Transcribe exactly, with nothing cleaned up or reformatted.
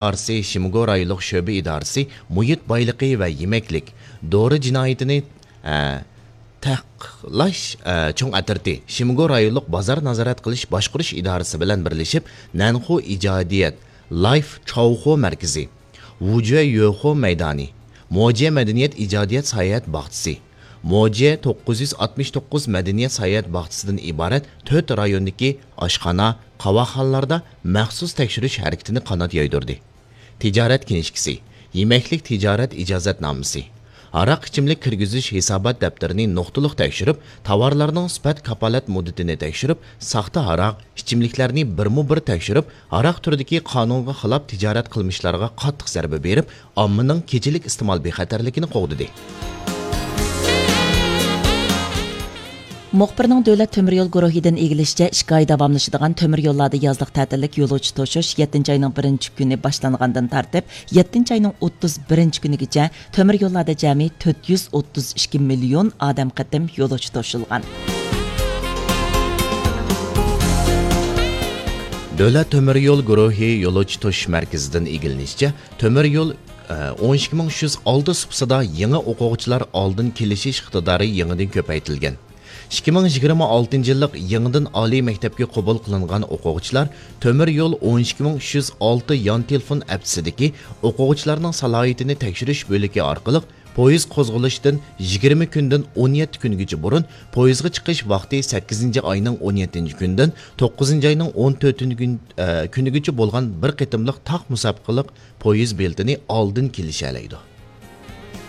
ئىدارىسى، شىمگو رايونلۇق شۆبە ئىدارىسى، مۇھىت بايلىقى ۋە يېمەكلىك، دورا جىنايىتىنى، ئە، تەقىقلاش، ئە، چوڭ ئەترىتى، شىمگو رايونلۇق بازار نازارەت قىلىش باشقۇرۇش ئىدارىسى بىلەن بىرلىشىپ، نەنخۇ ئىجادىيەت، لايف چاۋخۇ مەركىزى، ۋۇجۈە يۆخۇ مەيدانى، موجيە مەدەنىيەت ئىجادىيەت ساياھەت باغچىسى، موجيە توققۇز يۈز ئاتمىش توققۇز مەدەنىيەت ساياھەت باغچىسىدىن ئىبارەت تۆت رايوندىكى ئاشخانا، قاۋاقخانىلاردا مەخسۇس تەكشۈرۈش ھەرىكىتىنى قانات يايدۇردى. تىجارەت كىنىشكىسى، يېمەكلىك تىجارەت ئىجازەتنامىسى، ھاراق ئىچىملىك كىرگۈزۈش ھېسابات دەپتىرىنى نۇقتىلىق تەكشۈرۈپ، تاۋارلارنىڭ سۈپەت كاپالەت مۇددىتىنى تەكشۈرۈپ، ساختا ھاراق، ئىچىملىكلەرنى بىرمۇ بىر تەكشۈرۈپ، ھاراق تۈرىدىكى قانۇنغا خىلاپ تىجارەت قىلمىشلارغا قاتتىق زەربە بېرىپ، ئاممىنىڭ كېچىلىك ئىستېمال بىخەتەرلىكىنى قوغدىدى. مۇخبىرنىڭ دۆلەت تۆمۈر يول گۇرۇھىدىن ئىگىلىشىچە، ئىككى ئاي داۋاملىشىدىغان تۆمۈر يوللاردا يازلىق تەتىللىك يولۇچى توشۇش يەتتىنچى ئاينىڭ بىرىنچى كۈنى باشلانغاندىن تارتىپ، يەتتىنچى ئاينىڭ ئوتتۇز بىرىنچى كۈنىگىچە تۆمۈر يوللاردا جەمئىي تۆت يۈز ئوتتۇز ئىككى مىليون ئادەم قېتىم يولۇچى توشۇلغان. دۆلەت تۆمۈر يول گۇرۇھى يولۇچى توشۇش مەركىزىدىن ئىگىلىنىشىچە، تۆمۈر يول، ئە، ئون ئىككى مىڭ ئۈچ يۈز ئالتە سۇپىسىدا يېڭى ئوقۇغۇچىلار ئالدىن كېلىشىش ئىقتىدارى يېڭىدىن كۆپەيتىلگەن. ئىككى مىڭ يىگىرمە ئالتىنچى يىللىق يېڭىدىن ئالىي مەكتەپكە قوبۇل قىلىنغان ئوقۇغۇچىلار تۆمۈر يول ئون ئىككى مىڭ ئۈچ يۈز ئالتە يان تېلېفون ئەپسىدىكى ئوقۇغۇچىلارنىڭ سالاھىيىتىنى تەكشۈرۈش بۆلىكى ئارقىلىق پويىز قوزغىلىشتىن يىگىرمە كۈندىن ئون يەتتە كۈنگىچە بۇرۇن، پويىزغا چىقىش ۋاقتى سەككىزىنچى ئاينىڭ ئون يەتتىنچى كۈنىدىن توققۇزىنچى ئاينىڭ ئون تۆتىنچى كۈن، ئە، كۈنىگىچە بولغان بىر قېتىملىق تاق مۇسابىقىلىق پويىز بېلىتىنى ئالدىن كېلىشەلەيدۇ.